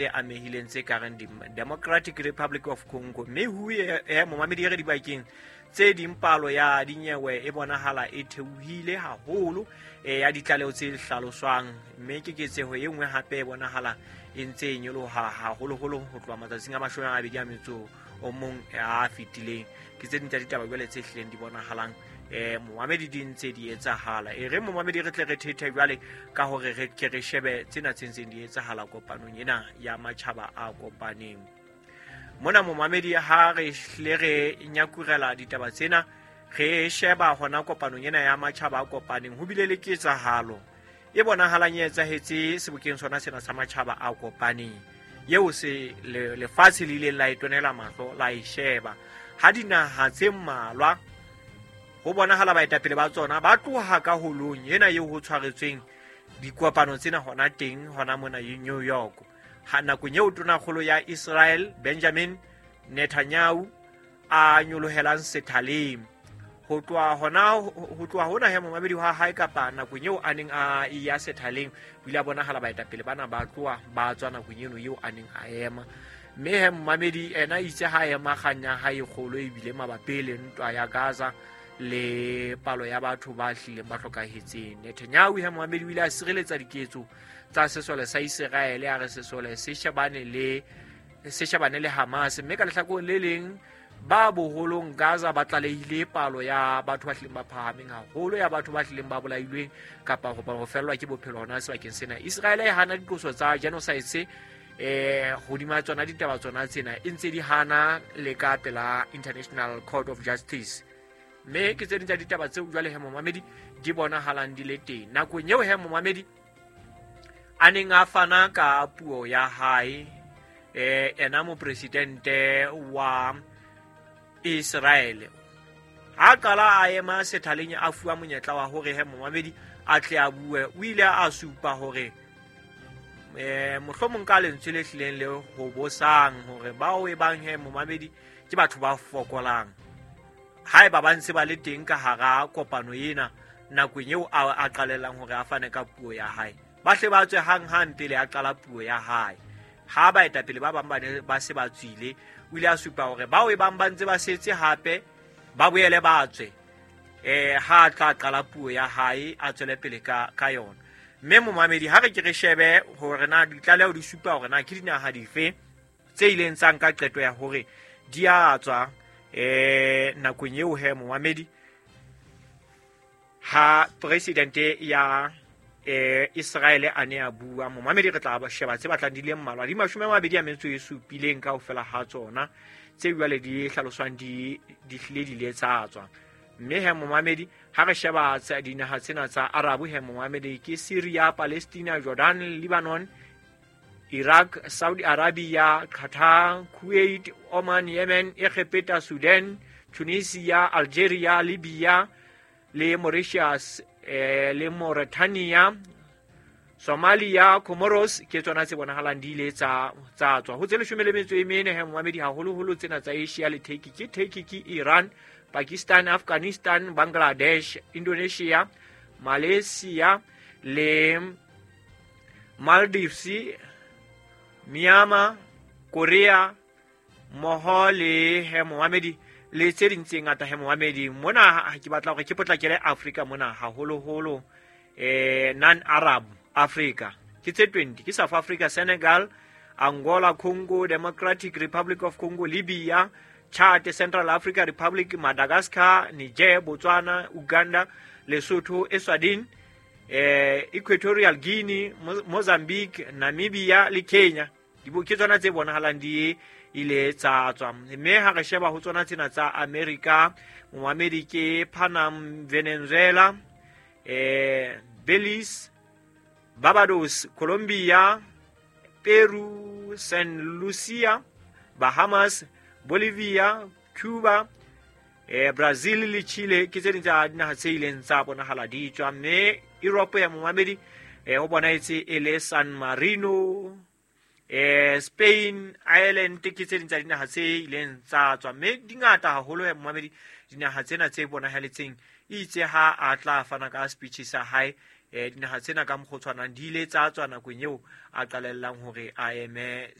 Tse amehileng tse ka reng Democratic Republic of Congo, mme hu e momamedi e re dibakeng tse ding palo ya dinyewe e bonahala e theohile haholo ya ditlaleho tse hlaloswang, mme keketseho e nngwe hape e bonahala e ntse e nyoloha haholoholo ho tloha matsatsing a 21 a fetileng. Ke tse ding tsa ditaba jwale tse hlileng di bonahalang momamedi di ntse di etsahala. E re momamedi re tle re thethe jwale ka hore re ke re shebe tsena tse ntseng di etsahala kopanong ena ya Matjhaba a Kopaneng. Mona momamedi ha re hlile re nyakurela ditaba tsena, re sheba hona kopanong ena ya Matjhaba a Kopaneng, ho bile le ketsahalo e bonahalang e etsahetse sebokeng sona sena sa Matjhaba a Kopaneng, eo se lefatshe le ileng la e tonela mahlo la e sheba, ha dinaha tse mmalwa ho bonahala baetapele ba tsona ba tloha ka holong ena eo ho tshwaretsweng dikopano tsena hona teng hona mona New York. Ha nakong eo tonakgolo ya Israel Benjamin Netanyahu a nyolohelang sethaleng ho tloha hona he momamedi wa hae, kapa nakong eo a neng a ya sethaleng, o ile a bonahala baetapele bana ba tloha ba tswa nakong eno eo a neng a ema. Mme he momamedi ena itse ha ema kgang ya hae kgolo ebile mabapi le ntwa ya Gaza le palo ya batho ba hlileng ba hlokahetseng. Netanyahu he momamedi o ile a sireletsa diketso tsa sesole sa Iseraele, a re sesole se shebane le Hamas, mme ka lehlakoreng le leng ba boholong Gaza ba tlalehile palo ya batho ba hlileng ba phahameng haholo ya batho ba hlileng ba bolailweng kapa ho fellwa ke bophelo hona sebakeng sena. Iseraele e hana diqoso tsa genocide hodima tsona ditaba tsona tsena, e ntse di hana le ka pela International Court of Justice. Mme ke tse ding tsa ditaba tseo jwale he momamedi di bonahalang di le teng. Nakong eo he momamedi a neng a fana ka puo ya hae, ena mopresidente wa Israel ha qala a ema sethaleng a fuwa monyetla wa hore he momamedi a tle a bue, o ile a supa hore mohlomong ka lentswe le hlileng le ho bosang hore bao e bang he momamedi ke batho ba fokolang, haeba ba ntse ba le teng ka hara kopano ena nakong eo a qalellang hore a fane ka puo ya hae, ba hle ba tswe hang-hang pele a qala puo ya hae. Ha baetapele ba bang ba ne ba se ba tswile, o ile a supa hore bao e bang ba ntse ba setse hape ba boele ba tswe ha a tla qala puo ya hae a tswele pele ka yona. Mme momamedi ha re ke re shebe hore na ditlaleho di supa hore na ke dinaha dife tse ileng tsa nka qeto ya hore di a tswa nakong eo he momamedi ha presidente ya Israel a ne a bua. Momamedi re tla sheba tse batlang di le mmalwa, di 27 kaofela ha tsona tse jwale di hlaloswang di hlile di le tsa tswa. Mme he momamedi ha re sheba dinaha tsena tsa Arabu he momamedi ke Syria, Palestina, Jordan, Lebanon, Iraq, Saudi Arabia, Qatar, Kuwait, Oman, Yemen, Egypt, Sudan, Tunisia, Algeria, Libya le Mauritius, le Mauritania, Somalia, Comoros ke tsona tse bonahalang di ile tsa tswa. Ho tse 14 he momamedi haholoholo tsena tsa Asia le Turkey, ke Turkey ke Iran, Pakistan, Afghanistan, Bangladesh, Indonesia, Malaysia le Maldives, Myanmar, Korea mmoho le he momamedi le tse ding tse ngata he momamedi. Mona ke batla hore ke potlakele Afrika mona haholoholo, non-Arab Africa ke tse 20, ke South Africa, Senegal, Angola, Congo, Democratic Republic of Congo, Libya, Chad, Central Africa Republic, Madagascar, Niger, Botswana, Uganda, Lesotho, Eswatini, Equatorial Guinea, Mozambique, Namibia le Kenya. Ke tsona tse bonahalang di ile tsa tswa. Mme ha re sheba ho tsona tsena tsa America, momamedi ke Panama, Venezuela, Belize, Barbados, Colombia, Peru, Saint Lucia, Bahamas, Bolivia, Cuba, Brazil le Chile ke tse ding tsa dinaha tse ileng tsa bonahala di tswa. Mme Europe ya momamedi ho bonahetse e le San Marino, Spain, Ireland ke tse ding tsa dinaha tse ileng tsa tswa. Mme di ngata haholo ya momamedi dinaha tsena tse bonahaletseng. Itse ha a tla fana ka speech sa hae Dinaha tsena ka mokgwa o tshwanang di ile tsa tswa nakong eo a qalellang hore a eme.